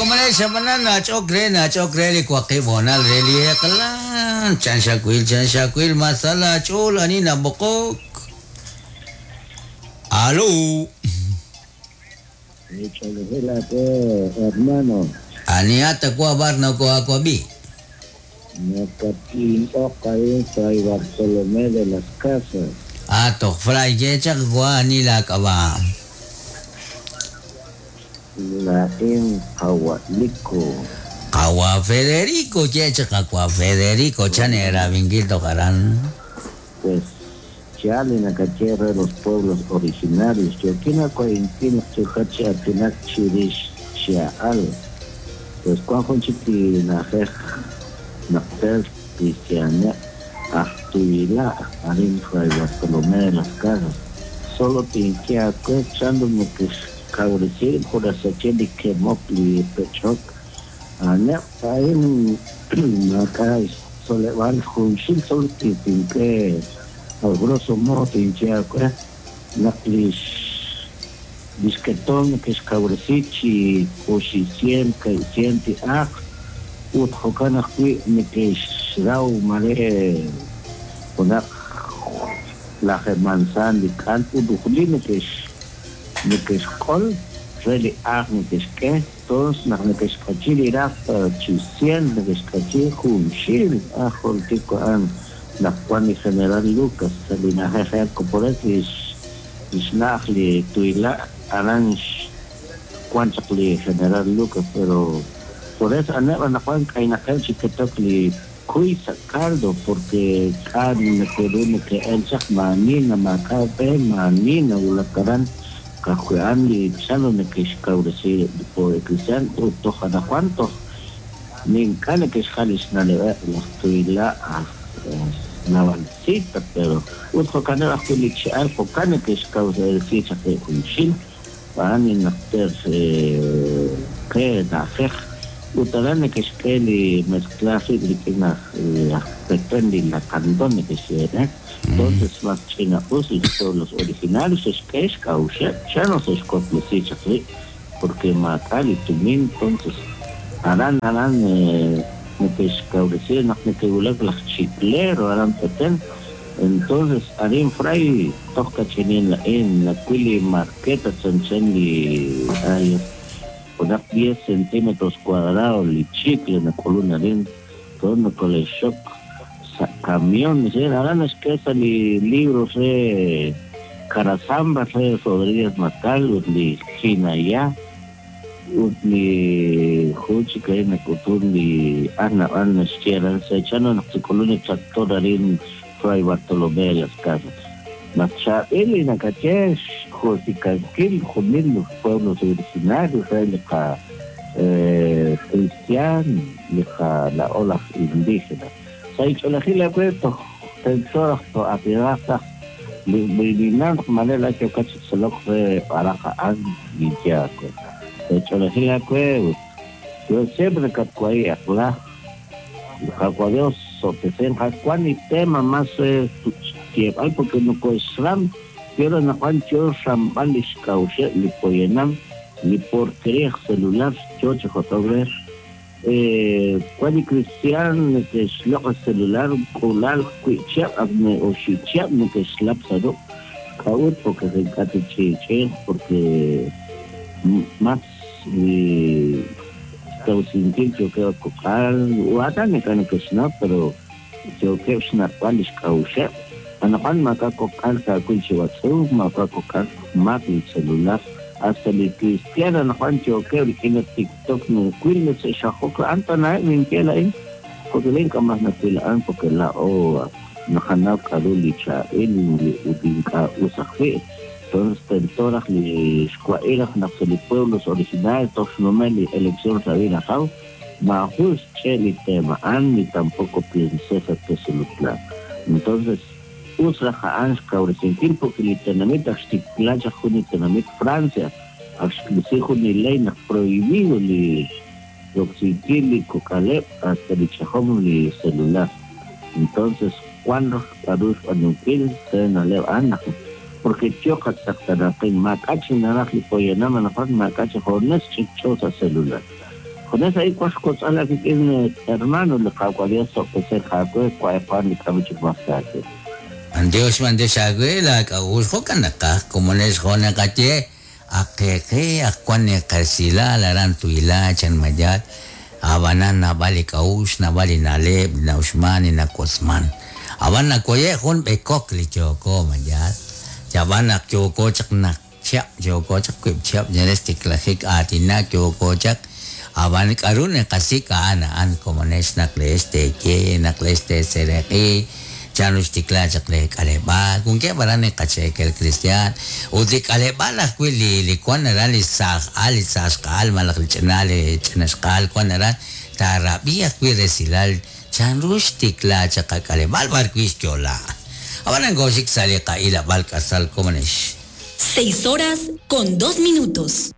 komonel xab'anan nach'ok re nach'ok re li waqib' hoonal re li eq'la. Chan xawil chan xawil ma sa laach'ool ani nab'oqok. Alo. Hermano. Anihat wa bar nokoakwab'i. Nakatin'ok arin Fray Bartolomé de las Casas. Atoq Fray yechaq wa ani laak'ab'a. Lain Qawaliko. Qawa Federico yechaq wa Federico chan era vinkil toqaran. Pues chale nakache de los pueblos originarios. Yokina kwaintin chuhachi atinak chirish chiaal. Pues cuan chiti najej nakter cristiana actuila arin Fray Bartolomé de las Casas. Solo tinkia que chando me que cabrecir jurasacheli que mopli pechok. Ane ain acá soleval junxil solo tinque al grosso modo tinkia que naklish disquetón que es cabrecichi oxicien caicienti aj ut jokan ajwi' neke'xraw mare junaq laj manzan li k'an ut ujli neke'x neke'xq'ol re li aj neke'xk'e entonces naq neke'xk'achi li raj chi cien neke'xk'achi junxil aj joltiko a'an naq wan li general Lucas sa' li na'ajej por eso lix lix na'aj li tuyla' aran wan chaq li general Lucas pero por eso aneb' anaqwan k'aynaqeb' chi ketok li kuy sa' caldo porque k'a neke'ru neke'el chaq maani maak'a' b'e maani nawulak aran kajwi' li chano neke'xkawresi por cristian ut toj anaqwan toj nink'a' neke'xjal lix na'leb'eb' laj tuyla' aj navalcita pero ut jo'kaneb' ajwi' li che'al jo'kan neke'xkawresi chaq rib' junxil b'an naqter qe na'ajej ut aran neke'xk'e li mezclar rib' rik'in aj aj Petén li lacandón neke'xye entonces mas ch'ina'us li pueblos originarios xe'xk'e xk'a'uxeb' chano xe'xwaklesi chaq rib' porque maak'a' li tumin entonces aran aran neke'xkawresi naq neke'wulak laj chiclero aran Petén entonces arin Fray toj kach'inin la'in nakwil li marqueta chanchan li ay junaq 10 centímetros cuadrados li chicle nak'ulun arin todo nokole'xxok sa' camión aran naxk'e sa' li libros re Carasamba re Rodríguez Macal ut li Jinaya ut li jun chik arin nak'utun li ar nab'an naxye aran sa' chano naq chik'ulun li tractor arin Fray Bartolomé de las Casas. Mas chaab'il li nakache xjultikankil junil los pueblos originarios re li qa cristian li qa la'o laj indígena. Sa' ich'olejil awe toj tento raj to'atinaq taj li ninaq manera yokat chi tzolok re b'araq a'an ninye aawe. Sa' ich'olejil awe yo siempre katwai aqla Qaqwa Dios sotesen wan li tema más xyeeb'al porque nokoxram pero naqwan yo xramb'al li xk'a'uxeb' li poyanam li porquería celular yo chi jot'ok wan li cristian neke'xloq' celular k'ulal wi' chihab' ak oxib' chihab' neke'xlap sa' ruq' k'a'ut porque ink'a' tich'i'ch'iiq porque más li xkawsinkil yookeb' kok'al watan ink'a' neke'xnaw pero yookeb' xnaq'b'al li xk'a'uxeb' anaqwan maak'a' kok'al kaawil chi watz'uuk maak'a' kok'al mak li celular hasta li cristiano anaqwan yookeb' rik'in li TikTok nawil xajok a'an tanaheb' ninye la'in porque lin ink'a' mas nawil a'an porque la'o naqanaw k'a'ru li chaab'il ut ink'a' us ajwi' entonces tento raj li xwa'il raj naq sa' li pueblos originarios toj xnumel li elección Sabina Ajaw maajun xch'e' li tema a'an ni tampoco princesa Tezulutlán entonces us raj a'an xkawresinkil porque li tenamit aj xtikla chaq jun li tenamit Francia aj xk'isi jun li ley naq prohibido li roksinkil li kok'aleb' hasta li ch'ajom li celular entonces wan raj k'a'ru xb'aanunkil re na'leb' a'an naq porque yo qatz'aqtanaqin maak'a' chi naraj li poyanam anaqwan maak'a' chi jones ch'ikch'o sa' celular. Junes a'in wank xwotz'al aawik'in hermano, li Qaawa' Dios sob'tesinq aawe, wa'eqwan li k'a'ru chik mas aawe. B'antiox, b'antiox aawe laak'a'uxl, jo'kan naqaj, komonex jo' naqaye, ak qe qe, ak wan li qesilal aran Tuila, chan Mayal, ab'anan naab'al li k'a'uxl, naab'al li na'leb' li na'uxman, li nawotzman. Ab'an nawoye' jun b'ekok li yooko, Mayal, yab'an naq yooko chaq naq chihab' yooko chaq wiib' chihab' chalen xtiklajik aatinak yooko chaq, ab'an k'a'ru naqasik' a'an a'an komonex naq leex teeye, naq leex teeseeraq'i chanru xtikla chaq lee k'aleb'aal, wankeb' aran li qacheekel kristiaan ut li k'aleb'aal ajwi' li li wan aran li saaj al, li saaj xqa'al malaj li ch'ina li ch'ina xqa'al wan aran taarab'i ajwi' resilal chanru xtikla chaq qak'aleb'aal b'ar wi' xyo'la. Ab'anan kooxik sa' li qa'ilab'al k'asal komonex. 6 horas con 2 minutos.